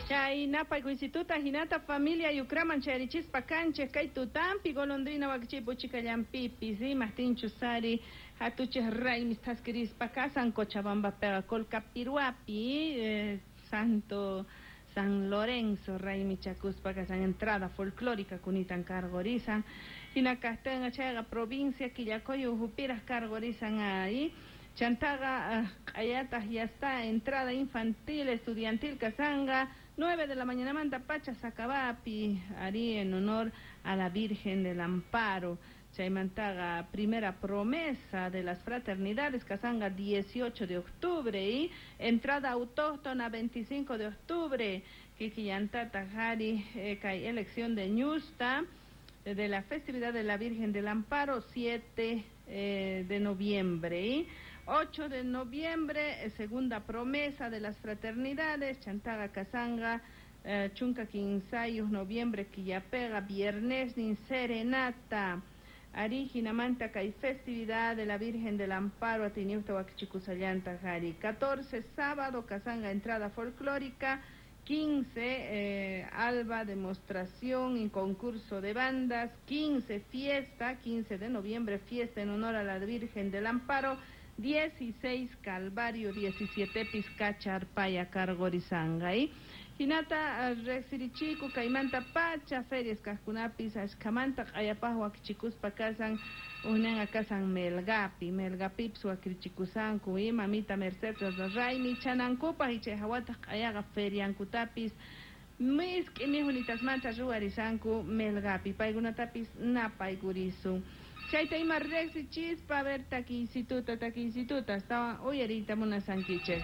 Chay napaykuysituta hinata familia yukraman chayrichispa kanchik kay tutampi golondrina wakichipu chikallampipis imaqtinchus sari hatuchik raymis thaskirispa kasan Cochabambapiqa Colcapirhuapi Santo San Lorenzo raymichakuspa kasan entrada folclórica kunitan karqurisan hina kaqtinqa chayqa provincia Quillacoyo uhupiraq karqurisan ahí chantaqa q'ayataq ya está entrada infantil estudiantil kasanga 9 de la mañanamanta pacha Sacabapi ari en honor a la Virgen del Amparo. Chaymantaqa primera promesa de las fraternidades kasanga 18 de octubre y entrada autóctona 25 de octubre. Kikillantata hari kay elección de Ñusta de la festividad de la Virgen del Amparo 7 de noviembre y 8 de noviembre segunda promesa de las fraternidades chantaqa kasanga chunka kinsayuq noviembre killapega viernes nin serenata ari hinamanta kay festividad de la Virgen del Amparo atiniuta wakichikusallanta hari 14 sábado kasanga entrada folclórica 15 alba demostración y concurso de bandas 15 fiesta 15 de noviembre fiesta en honor a la Virgen del Amparo 16 Calvario 17 Pizcacharpaya karqurisanqa hinata riqsirichiku kaymanta pacha ferias kaqkunapis ashkamanta q'ayapaq wakichikuspa kasan unanqa kasan Melgapi Melgapipis wakirichikusanku mamita Mercedes raymi chanankupaq y chay hawataq q'ayaqa feriankutapis misk'i mijunitasmanta ruwarisanku Melgapi paykunatapis napaykurisun chayta ima riqsichispa a ver takiysituta takiysituta astawan uyariyta munasankichik.